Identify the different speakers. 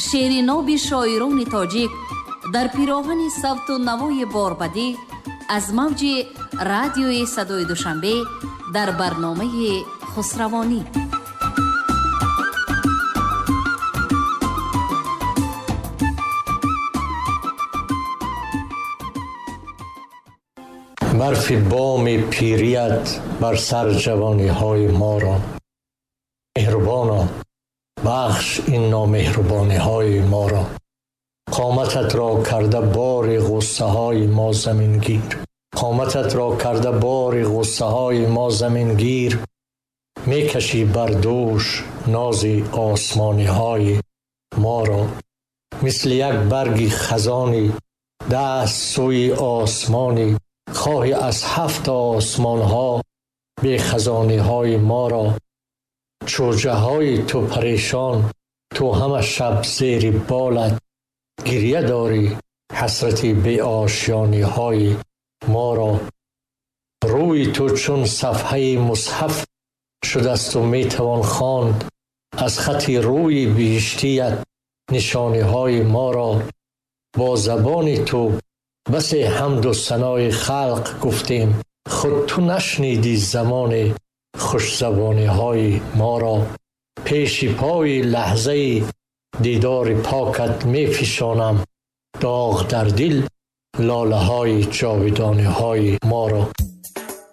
Speaker 1: Шеъри ноби шоирони тоҷик дар пироҳани савту навои борбадӣ аз мавҷи радиои садои Душанбе дар барномаи Хусравонӣ.
Speaker 2: Барфи боми пирият бар сар ҷавониҳои моро, меҳрубоно, бахш ин номеҳрубониҳои моро. Қомататро карда бори ғуссаҳои мо замингир, қомататро карда бори ғуссаҳои мо замингир, мекашӣ бар дӯш нози осмониҳои моро. Мисли як барги хазони даст сӯи осмони, хоҳӣ аз ҳафт осмонҳо бехазониҳои моро. Чӯҷаҳои ту парешон, ту ҳама шаб зери болат гирья дорӣ ҳасрати беошёниҳои моро. Рӯи ту чун сафҳаи мусҳаф шудасту метавон хонд аз хати рӯи биҳиштият нишониҳои моро. Бо забони ту басе ҳамду санои халқ гуфтем, худ ту нашнидӣ замони хушзабониҳои моро. Пеши пои лаҳзаи дидори покат мефишонам доғ дар дил лолаҳои ҷовидониҳои моро.